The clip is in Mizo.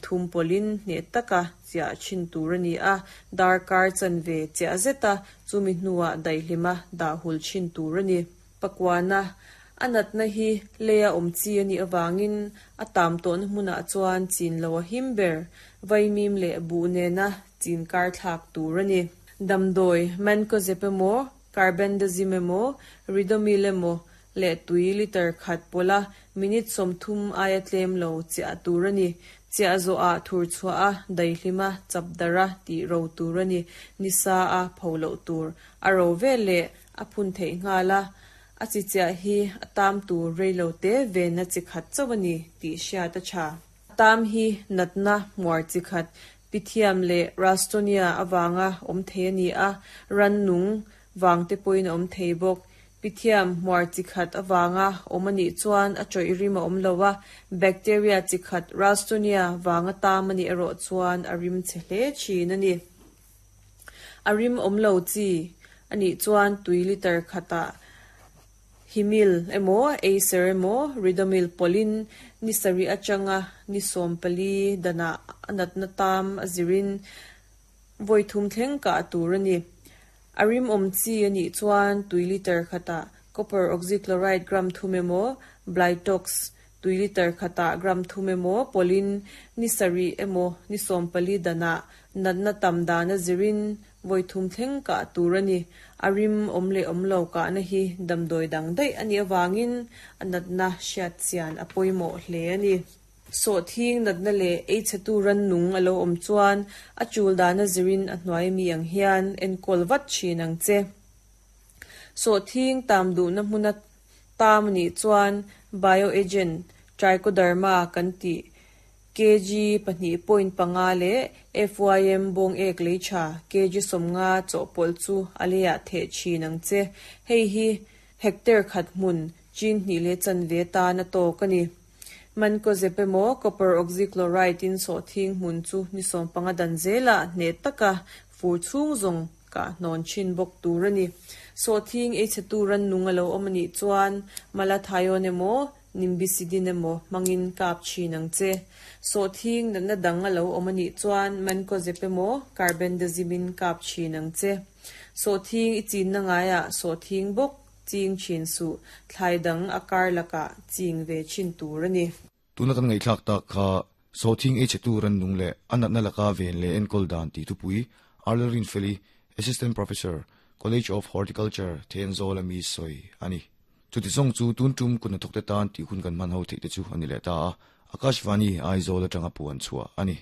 Thum pawlhin hneh taka chiah thin tur a ni a, darkar chanve chiah zeta chumi hnuah daihlima dah hul thin tur a ni. Pakuana, a natna hi leia awm chi a nih avangin a tam tawhna hmunah chuan chin lo a him ber, vaimim leh buh nena chin kar thlak tur a ni. Damdawi, Mancozeb emaw, Carbendazim emaw, Ridomil emaw leh tui litre khat pawlh a minute 30 aia tlem lo chiah tur a ni. Chiah zawhah thur chhuah a, daihlim a, chap darh a tih ro tur a ni. Nisa a pho loh tur. A ro vel leh a phun theih nghal a, a chi chiah hi a tam tur rei lo te venna chi khat chauh a ni tih hriat a tha. A tam hi natna hmuar chi khat, Pythium leh Ralstonia avanga awm thei a ni a, rannung vang te pawhin a awm thei bawk. Pythium hmuar chi khat avanga awm a nih chuan a chawih rim a awm lo a, bacteria chi khat Ralstonia vanga tam a nih erawh chuan a rim chhe hle thin a ni. A rim awm lo chi a nih chuan tui litre khatah Himil emaw, Acer emaw, Ridomil pawlhin ni sarih atanga ni 14 danah a natna tam a zirin vawi thum thleng kah tur a ni. A rim awm chi a nih chuan tui litre khatah copper oxychloride gram thum emaw, Blitox tui litre khatah gram thum emaw pawlhin ni sarih emaw ni 14 danah natna tam dan a zirin vawi thum thleng kah tur a ni. A rim awm leh awm lo kahna hi damdawi dang daih a nih avangin a natna hriat chian a pawimawh hle a ni. Sawhthing natna leh ei chhetu rannung a lo awm chuan a chul dana zirin a hnuai mi ang hian enkawl vat thin ang che. Sawhthing tam duhna hmuna tam a nih chuan bioagent Trichoderma kan tih kg 2.5 leh FYM bawng ek lei tha kg 50 chawhpawlh chu a leiah theh thin ang che. Hei hi hectare khat hmun chin hnih leh chanve tan a tawk a ni. Mancozeb emaw copper oxychloride in sawhthing hmun chu ni 15 dan zelah hneh taka fur chhung zawng kah hnawn thin bawk tur a ni. Sawhthing ei chhetu rannung a lo awm a nih chuan malathion emaw Nimbicidine emaw hmangin kap thin ang che. Sawhthing natna dang a lo awm a nih chuan Mancozeb emaw Carbendazim in kap thin ang che. Sawhthing i chinna ngaiah sawhthing bawk ching thin suh, thlai dang a kar lakah ching ve thin tur a ni. Tuna kan ngaihthlak tak kha sawhthing ei chhetu rannung leh a natna laka ven leh enkawl dan tih thupui Arla Rinfeli, Assistant Professor, College of Horticulture, Thenzawl ami sawi a ni. Chuti zawng chu tun tum kut hnathawkte tan tih hun kan hman ho theih te chu a ni leh ta a, Akashvani, Aizawl atanga puan chhuah a ni.